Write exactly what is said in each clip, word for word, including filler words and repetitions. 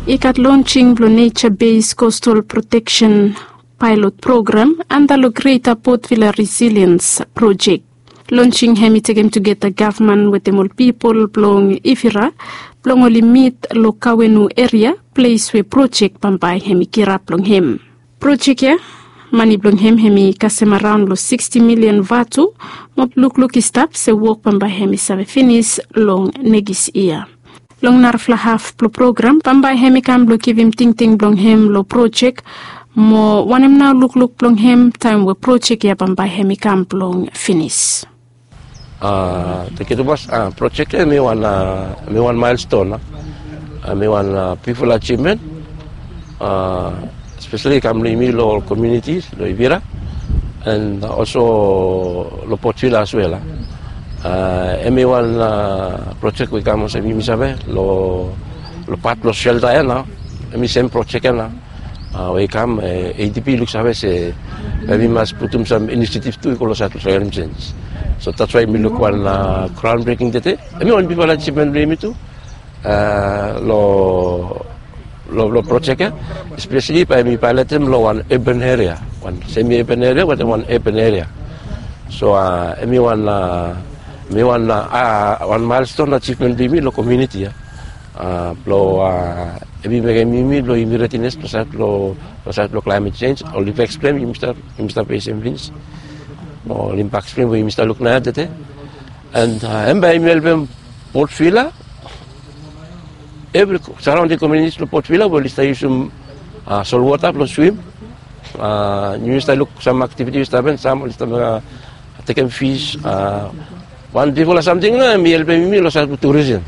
I gat lonsing blong Nature Based Coastal Protection Pilot Program anda long Greater Port Vila Resilience Project. Lonsing hem i tekem tugeta gavman wetem ol pipol blong Ivira blong oli mit long Kawenu eria, ples we projek bambae hem i kirap long hem. Projek ya, mane blong hem hem i kasem araon long siksti milian vatu. Mo lukluk i stap se wok bambae hem i save finis long nekis yia. Long narafala haf blong program bambae hem i kam blong givim tingting blong hem long projek. Mo wanem nao lukluk blong hem taem we projek ya bambae hem i kam blong finis? Thank you too much. Projek ya mi wan mi wan milestone. Mi wan bigful achievement, especially kam long yumi long komuniti long Ivira and also long Port Vila as well. Em i wan projek we i kam olsem yumi save long pat blong shelta ya nao. Em i sem projek ya nao we i kam, ADB i luksave se bae mi mas putum sam inisiativ tu i go long sait blong climate change. So that's why mi luk wan ground breaking tede. Em i wan bigfala achievement blong yumi tu long long projek ya, especially bae mi pilotem long wan urban area, wan semi urban area wetem wan urban area. So em i wan mi wan wan milestone achievement blong yumi long komuniti ya. Blong em i mekem yumi blong yumi redines long sait blong long sait blong climate change. Ol impact stream yumi stap yumi stap fesem finis. Ol impact stream we yumi stap luk naoia tede. And em bae yumi helpem Port Vila, evri saraonding komunitis blong Port Vila we oli stap yusum solwota blong swim. Yumi stap luk sam aktiviti we stap hapen, sam oli stap tekem fis. Wan bigfala samting nao em i helpem yumi long sait blong turism.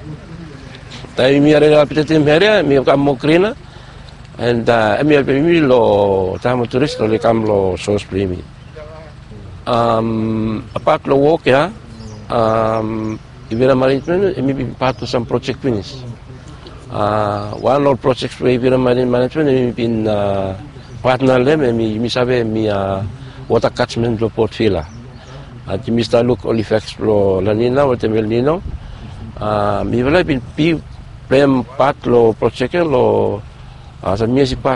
Taem yumi arere apdetem eria em i kam moa grina. And em i helpem yumi long taem ol turis oli kam long sos blong yumi. Apat long wok ya, Ivira Management em i bin pat long sam projek finis. Wan long ol projek we Ivira Management em i bin patna long hem, em i yumi save em i wota katmen blong Port Vila. Yumi stap luk ol ifeks blong La Nina wetem El Nino. Mifala i bin bi plem pat long projek ya long sam yias i pas.